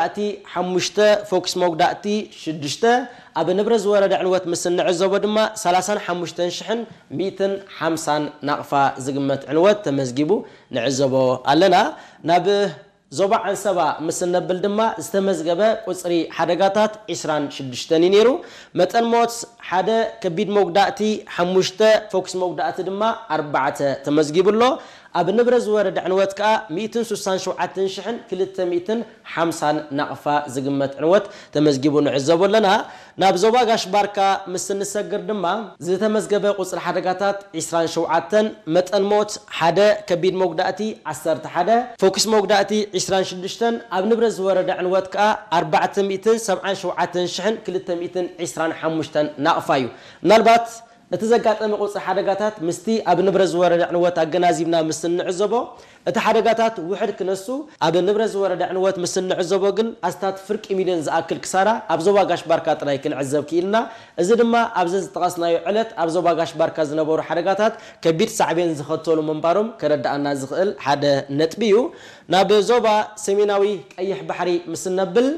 መጉዳእቲ ሓሙሽተ፣ ፎክስ መጉዳእቲ ሽዱሽተ፣ ኣብ ንብረት ዝወረደ ዕንወት ምስ እንዕዘቦ ድማ ሰላሳን ሓሙሽተን ሽሕን ሚእትን ሓምሳን ናቕፋ ዝግመት ዕንወት ተመዝጊቡ ንዕዘቦ ኣለና። ናብ ዞባ ዓንሰባ ምስ እነብል ድማ ዝተመዝገበ ቁጽሪ ሓደጋታት ዒስራን ሽዱሽተን እዩ ነይሩ። መጠን ሞት ሓደ፣ ከቢድ መጉዳእቲ ሓሙሽተ፣ ፎክስ መጉዳእቲ ድማ ኣርባዕተ ተመዝጊቡ ኣሎ። ኣብ ንብረት ዝወረደ ዕንወት ከኣ ሚእትን ስሳን ሸውዓተን ሽሕን ክልተ ሚእትን ሓምሳን ናቕፋ ዝግመት ዕንወት ተመዝጊቡ ንዕዘቦ ኣለና። ናብ ዞባ ጋሽ ባርካ ምስ እንሰግር ድማ ዝተመዝገበ ቁጽሪ ሓደጋታት ዒስራን ሸውዓተን፣ መጠን ሞት ሓደ፣ ከቢድ መጉዳእቲ ዓሰርተ ሓደ፣ ፎክስ መጉዳእቲ ዒስራን ሽዱሽተን፣ ኣብ ንብረት ዝወረደ ዕንወት ከኣ ኣርባዕተ ሚእትን ሰብዓን ሸውዓተን ሽሕን ክልተ ሚእትን ዒስራን ሓሙሽተን ናቕፋ እዩ። ምናልባት እቲ ዘጋጠመ ቁጽሪ ሓደጋታት ምስቲ ኣብ ንብረት ዝወረደ ዕንወት ኣገናዚብና ምስ እንዕዘቦ፣ እቲ ሓደጋታት ውሕድ ክነሱ፣ ኣብ ንብረት ዝወረደ ዕንወት ምስ እንዕዘቦ ግን ኣስታት ፍርቂ ሚልዮን ዝኣክል ክሳራ ኣብ ዞባ ጋሽ ባርካ ጥራይ ክንዕዘብ ክኢልና። እዚ ድማ ኣብዚ ዝጠቐስናዮ ዕለት ኣብ ዞባ ጋሽ ባርካ ዝነበሩ ሓደጋታት ከቢድ ሳዕቤን ዝኸተሉ ምንባሮም ከረድኣና ዝኽእል ሓደ ነጥቢ እዩ። ናብ ዞባ ሰሜናዊ ቀይሕ ባሕሪ ምስ እነብል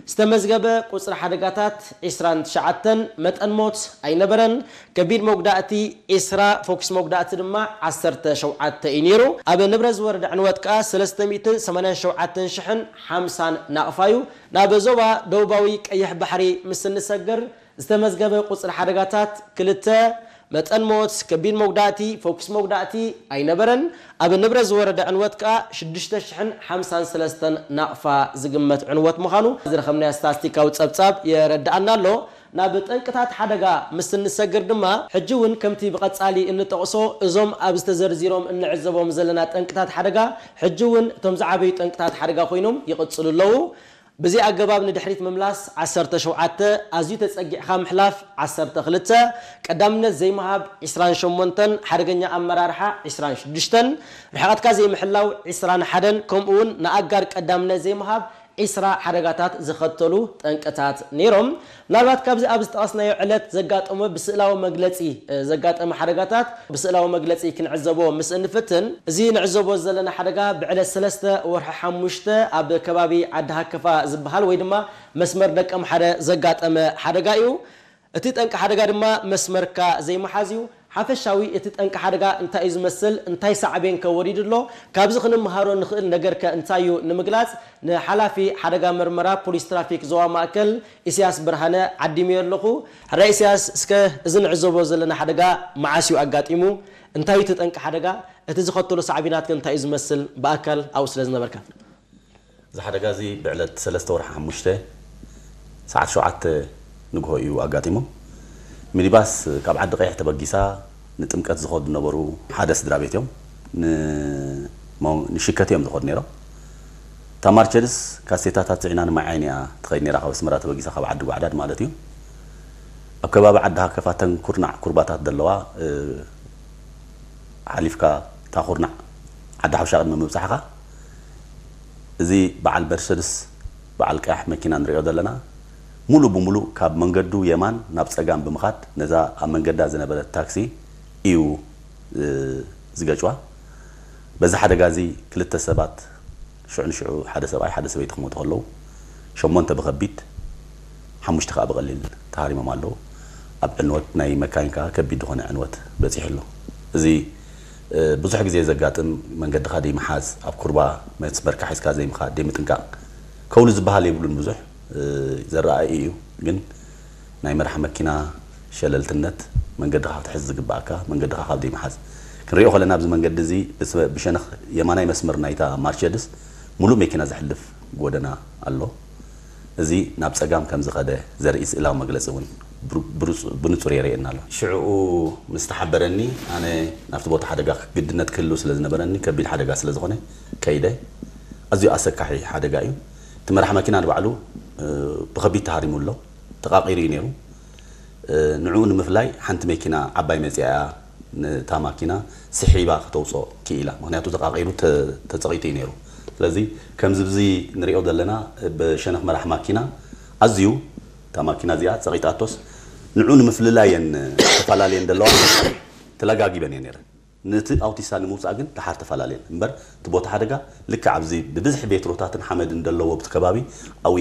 ዝተመዝገበ ቁጽሪ ሓደጋታት ዒስራን ትሽዓተን፣ መጠን ሞት ኣይነበረን። ከቢድ መጉዳእቲ ዒስራ፣ ፎክስ መጉዳእቲ ድማ ዓሰርተ ሸውዓተ እዩ ነይሩ። ኣብ ንብረት ዝወረደ ዕንወት ከኣ ሰለስተ ሚእትን ሰማንያን ሸውዓተን ሽሕን ሓምሳን ናቕፋ እዩ። ናብ ዞባ ደቡባዊ ቀይሕ ባሕሪ ምስ እንሰግር ዝተመዝገበ ቁጽሪ ሓደጋታት ክልተ፣ መጠን ሞት፣ ከቢድ መጉዳእቲ፣ ፎክስ መጉዳእቲ ኣይነበረን። ኣብ ንብረት ዝወረደ ዕንወት ከኣ ሽዱሽተ ሽሕን ሓምሳን ሰለስተን ናቕፋ ዝግመት ዕንወት ምዃኑ ዝረኸብናዮ ስታስቲካዊ ጸብጻብ የረድኣና ኣሎ። ናብ ጠንቅታት ሓደጋ ምስ እንሰግር ድማ፣ ሕጂ እውን ከምቲ ብቐጻሊ እንጠቕሶ፣ እዞም ኣብዚ ተዘርዚሮም እንዕዘቦም ዘለና ጠንቅታት ሓደጋ፣ ሕጂ እውን እቶም ዝዓበዩ ጠንቅታት ሓደጋ ኮይኖም ይቕጽሉ ኣለዉ። ብዚ ኣገባብ ንድሕሪት ምምላስ ዓሰርተ ሸውዓተ፣ ኣዝዩ ተጸጊዕካ ምሕላፍ ዓሰርተ ክልተ፣ ቀዳምነት ዘይምሃብ ዒስራን ሸሞንተን፣ ሓደገኛ ኣመራርሓ ዒስራን ሽዱሽተን፣ ርሕቐትካ ዘይምሕላው ዒስራን ሓደን፣ ከምኡ እውን ንኣጋር ቀዳምነት ዘይምሃብ ዒስራ ሓደጋታት ዝኸተሉ ጠንቅታት ነይሮም። ምናልባት ካብዚ ኣብ ዝጠቐስናዮ ዕለት ዘጋጠመ ብስእላዊ መግለጺ፣ እ፣ ዘጋጠመ ሓደጋታት ብስእላዊ መግለጺ ክንዕዘቦ ምስ እንፍትን፣ እዚ ንዕዘቦ ዘለና ሓደጋ ብዕለት ሰለስተ ወርሒ ሓሙሽተ ኣብ ከባቢ ዓዲ ሃከፋ ዝበሃል ወይ ድማ መስመር ደቀምሓረ ዘጋጠመ ሓደጋ እዩ። እቲ ጠንቂ ሓደጋ ድማ መስመርካ ዘይምሓዝ እዩ። ሓፈሻዊ እቲ ጠንቂ ሓደጋ እንታይ እዩ ዝመስል፣ እንታይ ሳዕቤን ከ ወሪዱ ኣሎ፣ ካብዚ ክንምሃሮ ንኽእል ነገርከ እንታይ እዩ ንምግላጽ፣ ንሓላፊ ሓደጋ መርመራ ፖሊስ ትራፊክ ዞባ ማእከል ኢሳያስ ብርሃነ ዓዲመዮ ኣለኹ። ሕራይ ኢሳያስ፣ እስከ እዚ ንዕዘቦ ዘለና ሓደጋ መዓስ እዩ ኣጋጢሙ? እንታይ እዩ እቲ ጠንቂ ሓደጋ? እቲ ዝኸተሎ ሳዕቤናት ከ እንታይ እዩ ዝመስል? ብኣካል ኣብኡ ስለ ዝነበርካ። እዚ ሓደጋ እዚ ብዕለት ሰለስተ ወርሒ ሓሙሽተ ሰዓት ሸውዓተ ንግሆ እዩ ኣጋጢሙ። ሚኒባስ ካብ ዓዲ ቀይሕ ተበጊሳ ንጥምቀት ዝኸዱ ዝነበሩ ሓደ ስድራ ቤት እዮም። ን-፣ ሞ-፣ ንሽከቲ እዮም ዝኸዱ ነይሮም። እታ ማርቸድስ ካሴታታት ጽዒና ንማይ ዓይኒ እያ ትኸይድ ነይራ፣ ካብ ኣስመራ ተበጊሳ፣ ካብ ዓዲ ጓዕዳድ ማለት እዩ። ኣብ ከባቢ ዓዲ ሃከፋ፣ ተን ኩርናዕ ኩርባታት ዘለዋ፣ እ፣ ሓሊፍካ፣ እታ ኩርናዕ ዓዲ ሓውሻ ቅድሚ ምብጻሕኻ፣ እዚ በዓል መርሰድስ፣ በዓል ቀያሕ መኪና ንሪኦ ዘለና፣ ሙሉእ ብሙሉእ ካብ መንገዱ የማን ናብ ጸጋም ብምኻድ፣ ነዛ ኣብ መንገዳ ዝነበረት ታክሲ እዩ፣ እ፣ ዝገጭዋ። በዚ ሓደጋ እዚ ክልተ ሰባት፣ ሽዑ ንሽዑ ሓደ ሰብኣይ ሓደ ሰበይቲ ክሞቱ ከለዉ፣ ሸሞንተ ብኸቢድ፣ ሓሙሽተ ከኣ ብቐሊል ተሃሪሞም ኣለዉ። ኣብ ዕንወት ናይ መካይን ከኣ ከቢድ ዝኾነ ዕንወት በጺሑ ኣሎ። እዚ፣ እ፣ ብዙሕ ግዜ ዘጋጥም፣ መንገድኻ ደይምሓዝ፣ ኣብ ኩርባ መስመርካ ሒዝካ ዘይምኻድ፣ ደይምጥንቃቕ፣ ከውሊ ዝበሃል የብሉን፣ ብዙሕ፣ እ፣ ዘረኣኢ እዩ። ግን ናይ መራሕ መኪና ሸለልትነት፣ መንገድኻ ክትሕዝ ዝግባኣካ፣ መንገድኻ ካብ ደይምሓዝ። ክንሪኦ ከለና ኣብዚ መንገዲ እዚ ብስ-፣ ብሸነኽ የማናይ መስመር ናይታ ማርቸድስ ሙሉእ መኪና ዘሕልፍ ጎደና ኣሎ። እዚ ናብ ጸጋም ከም ዝኸደ ዘርኢ ስእላዊ መግለጺ እውን ብሩ-፣ ብሩጽ-፣ ብንጹር የርእየና ኣሎ። ሽዕኡ ምስ ተሓበረኒ፣ ኣነ ናብቲ ቦታ ሓደጋ ግድነት ክህሉ ስለ ዝነበረኒ፣ ከቢድ ሓደጋ ስለ ዝኾነ ከይደ። ኣዝዩ ኣሰካሒ ሓደጋ እዩ። እቲ መራሕ መኪና ንባዕሉ፣ እ፣ ብኸቢድ ተሃሪሙ ኣሎ። ተቓቒሩ እዩ ነይሩ። እ፣ ንዕኡ ንምፍላይ ሓንቲ መኪና ዓባይ መጺኣ እያ ነታ ማኪና ስሒባ ከተውጽኦ ክኢላ። ምኽንያቱ ተቓቒሩ ተ-፣ ተጸቒጡ እዩ ነይሩ። ስለዚ ከምዚ ብዚ ንሪኦ ዘለና ብሸነኽ መራሕ ማኪና ኣዝዩ እታ ማኪና እዚኣ ጸቒጣቶስ ንዕኡ ንምፍልላይ እየን ተፈላለየን ዘለዋ ተለጋጊበን እየን ነይረን። ነቲ ኣውቲስታ ንምውጻእ ግን ደሓር ተፈላለየን። እምበር እቲ ቦታ ሓደጋ ልክዕ ኣብዚ ብብዝሒ ቤትሮታትን ሓመድን ዘለዎ ኣብቲ ከባቢ ኣብኡ